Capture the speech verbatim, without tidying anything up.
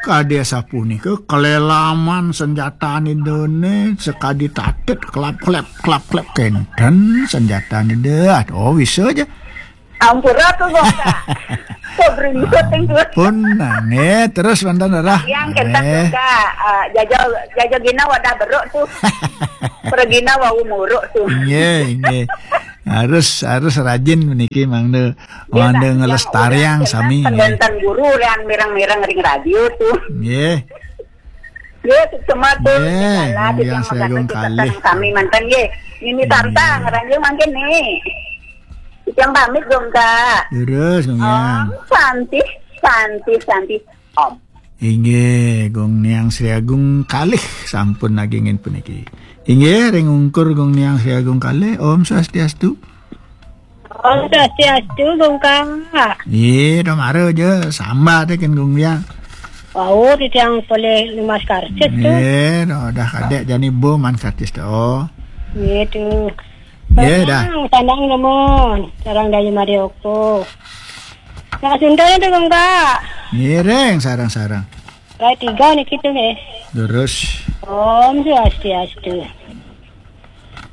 Kadi sapunika kelelaman senjatane dene sekadi tatet klap-klep, klap-klep kenten senjatane deh. Oh, bisa aja. Ampura tuh, Gongka. Kok beringot yang tuh? Pun, nah, nggih, terus mantan darah. Yang kenten, Gongka. Eh, jajo, jajo gina wadah beruk tuh. Pergina wau muruk tuh. Nggih, nggih. Harus, harus rajin meniki mangda, mangda ngelestariang sami, nggih. Pendenten guru yang mireng-mireng ring radio tuh. Nggih. Nggih, semua tuh. Nggih, Gongka Sri Agung kalih. Sami mantan, nggih. Nini Tanta, ngeranjing mangkin nih. Yang pamit, Gongka. Terus, Gongka. Om Santi, Santi, Santi. Om. Inggih, Gong Niang Sri Agung kalih sampun nagingin puniki. Inggih, ring ungkur Gong Niang Sri Agung kalih. Om Swastiastu. Om Swastiastu, Gongka. Iya, dong, mara aja. Samba teh kan, Gong Niang. Wau, titiang polih lumas karcis tuh. Iya, dong, dah kadek jani bo man karcis tuh. Iya tuh. Iya, dah. Sandang, sandang, Gomon. Sarang Dayu Marioko. Nah, Sunda itu, Gongka. Ngiring, sarang-sarang. Rai tiga nih kita nih. Terus. Om Swastiastu.